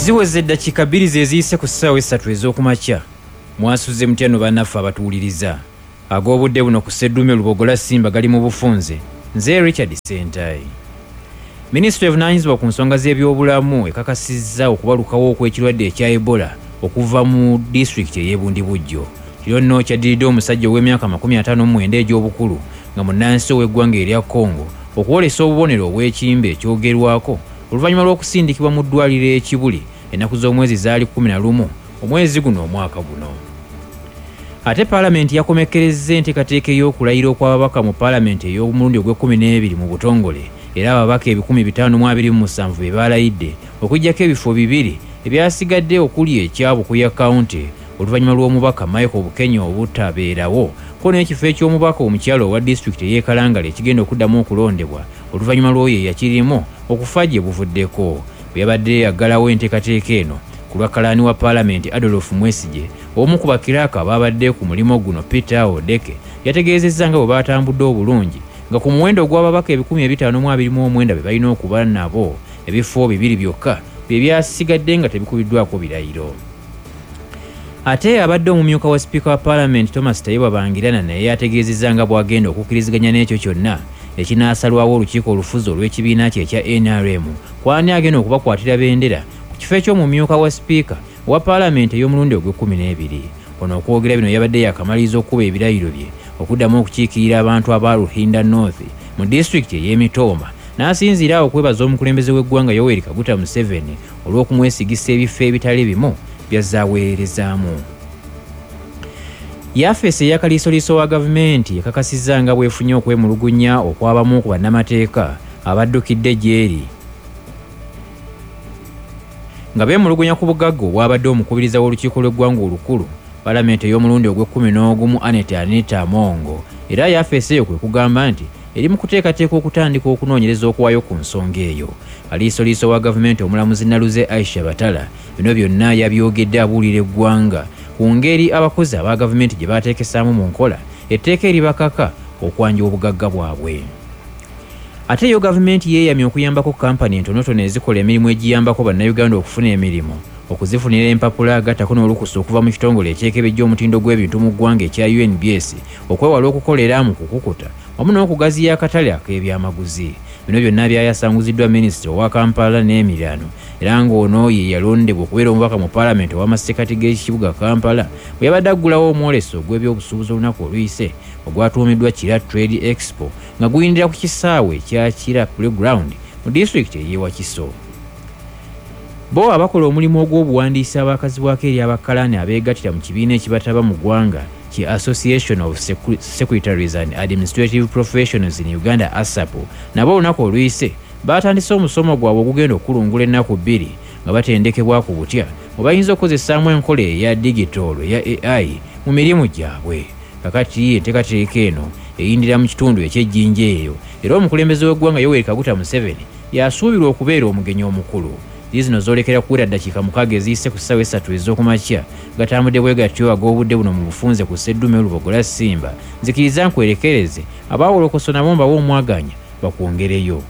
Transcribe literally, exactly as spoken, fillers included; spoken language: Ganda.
Ziweze eddakiika bbiri ze ziyise ku ssaawa essatu ez'okumakya. Mwasuze mutya no bannaffe abatuwuliriza? Ag'obudde buno ku Sseddume Lubogola Simba gali mu bufunze. Nze Richard Sentayi. Minisitule evunaanyizibwa ku nsonga z'ebyobulamu ekakasizza okubalukawo okw'ekirwadde ekya Ebola okuva mu disitulikiti ey'e Bundibugyo. Kino nno kyaddiridde omusajja ow'emyaka makumi ataano mu mwenda egy'obukulu nga munnansi ow'eggwanga erya Congo okwolesa obubonero obw'ekimbe ekyogerwako oluvannyuma lw'okusindikibwa mu ddwaliro e Kibuli ennaku z'omwezi zaali kkumi na lumu omwezi guno omwaka guno. Ate Paalamenti yakomekkerezza enteekateeka ey'okulayira okw'ababaka mu Paalamenti ey'omulundi ogw'ekkumi n'ebiri mu butongole, era ababaka ebikumi bitaano mu abiri mu musanvu be baalayidde okuggyako ebifo bibiri ebyasigadde okuli ekya Bukuya County oluvannyuma lw'omubaka Michael Bukenya obutabeerawo, ko n'ekifo eky'omubaka omukyala owa disitulikiti ey'e Kalangala ekigenda okuddamu okulondebwa oluvannyuma lw'oyo eyakirimu okufa gye buvuddeko. Bwe yabadde aggalawo enteekateeka eno ku lwa kalaani wa Paalamenti Adolf Mwesigye, omu ku bakiraaka abaabadde ku mulimu guno Peter Odeke yategeezezza nga bwe baatambudde obulungi nga ku muwendo ogw'ababaka ebikumi ebitaano mu abiri mu omwenda be balina okuba nabo, ebifo bibiri byokka bye byasigadde nga tebikubiddwako birayiro. Ate abadde omumyuka wa sipiika wa Paalamenti Thomas Tayebwa Bangirana naye yategeezezza nga bw'agenda okukkiriziganya n'ekyo kyonna ekinaasalwawo olukiiko olufuzi olw'ekibiina kye ekya N R M kw'ani agenda okubakwatira bendera ku kifo eky'omumyuka wa sipiika wa Paalamenti ey'omulundi ogw'ekkumi n'ebiri. Ono okwogera bino yabadde yakamaliriza okukuba ebirayiro bye okuddamu okukiikirira abantu aba Ruhinda North mu disitulikiti ey'e Mitooma, n'asinziira awo okwebaza omukulembeze w'eggwanga Yoweri Kaguta Museveni olw'okumwesigisa ebifo ebitali bimu by'azze aweerezaamu. Yafeesi eya kaliisoliiso wa gavumenti ekakasizza nga bw'efunye okwemulugunya okw'abamu ku bannamateeka abaddukidde gy'eri nga beemulugunya ku bugagga obwabadde omukubiriza w'olukiiko lw'eggwanga olukulu Paalamenti ey'omulundi ogw'ekkumi n'ogumu Annet Anita Amongo. Era yafeesi eyo kwe kugamba nti eri mu kuteekateeka okutandika okunoonyereza okuwaayo ku nsonga eyo. Kaliisoliiso wa gavumenti omulamuzi Naluze Aisha Batala bino byonna yabyogedde abuulira eggwanga ku ngeri abakozi aba gavumenti gye baateekesaamu mu nkola etteeka eribakaka okwanja obugagga bwabwe. Ate yo gavumenti yeeyamye okuyambako kampani entonotono ezikola emirimu egiyambako bannayuganda okufuna emirimu, okuzifunira empapula agattako n'olukusa okuva mu kitongole ekyekebejja omutindo gw'ebintu mu ggwanga ekya U N B S okwewala okukolera mu kukukuta wamu n'okugaziya akatale ak'ebyamaguzi. Bino byonna byayasanguziddwa minisita owa Kampala n'emiriraano era ng'ono ye yalondebwa okubeera omubaka mu Paalamenti ow'amasekkati g'ekibuga Kampala bwe yabadde aggulawo omwoleso ogw'ebyobusuubuzi olunaku oluyise ogwatuumiddwa Kira Trade Expo nga guyindira ku kisaawe ekya Kira Playground mu disitulikiti ey'e Wakiso. Bo abakola omulimu ogw'obuwandiisi abakazibwako eri abakalaani abeegattira mu kibiina ekibataba mu ggwanga ki Association of Secretaries and Administrative Professionals in Uganda ASAP nabo olunaku oluyise baatandise omusomo gwabwe ogugenda okulungula ennaku bbiri nga batendekebwa ku butya bwe bayinza okukozesaamu enkola eya digitolo eya A I mu mirimu gyabwe. Kakati enteekateeka eno eyindira mu kitundu eky'ejjinja eyo era omukulembeze w'eggwanga Yoweri Kaguta Museveni yasuubirwa okubeera omugenyi omukulu. Zino zoolekera kuwera ddakiika mukaaga eziyise ku ssaawa essatu ez'okumakya gatambudde bwe gatyo ag'obudde buno mu bufunze ku Sseddume Lubogola Simba. Nzikiriza nkwerekereze abaawolokoso nabo mbawe omwaganya bakwongereyo.